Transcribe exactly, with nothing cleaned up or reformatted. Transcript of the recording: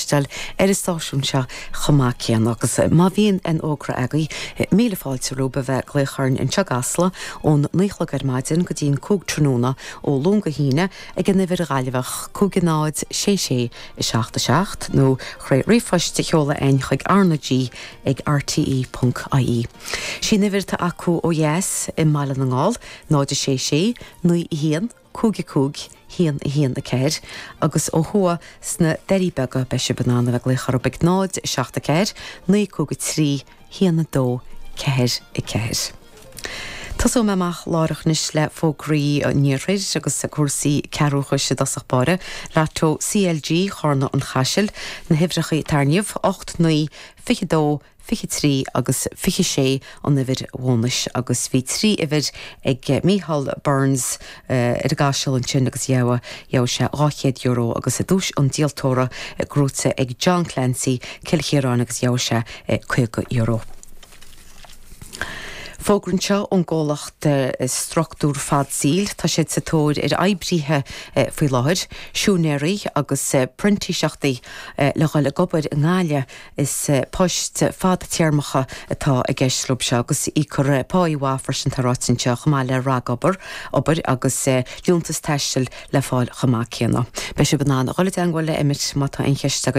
cloisteáil ar an stáisiún seo chomh maith céanna agus má bhíonn aon fhógra agaibh míle fáilte romhaibh a bheith ag glaoch orainn anseo i gCasla ón naoi a chlog ar maidin go dtí'n cúig tráthnóna ó Luan go hAoine ag an uimhir Ghaillimheach cúig náid sé sé a seacht a seacht nó trí ríomhphost a sheoladh chugainn chuig RnaG ag RTE.ie. Sí an uimhir atá acu ó dheas i mBaile na nGall náid sé sé naoi haon cúig cúig haon haon a ceathair agus ó thuaidh sna Doirí Beaga beidh sibh in ann a bheith ag glaoch orthu ag náid seacht a ceathair naoi cúig trí haon a dó ceathair a ceathair. Tosóidh mé amach láithreach anois le fógraí an iarthair agus cúrsaí ceathrúchais i dtosach báire, Lotto CLG Chárna an Chaisil, na huimhreacha tairníomh ocht naoi fiche dó fiche trí agus fiche sé an uimhir bhónais agus bhí trí uimhir ag Micheál Burns ar an gCaiseal ansin agus gheobhaidh gheobhaidh sé dhá chéad euro agus i duais an díoltóra gnóite ag John Clancy Cill Chiaráin agus gheobhaidh sé caoga euro. Fógra anseo ón gcomhlacht struchtúr fad saoil tá siad sa tóir ar oibrithe faoi láthair, siúinéirí agus printíseachtaí le dhul ag obair i nGaillimh is poist fadtéarmacha atá i gceist leo seo agus íocfar pá mhaith freisin tá ráite anseo chomh maith le ragobair obair agus liúntas taistil le fáil chomh maith céanna. Beidh sibh in ann a dhul i dteagmháil le Emmet má tá aon cheist agaibh.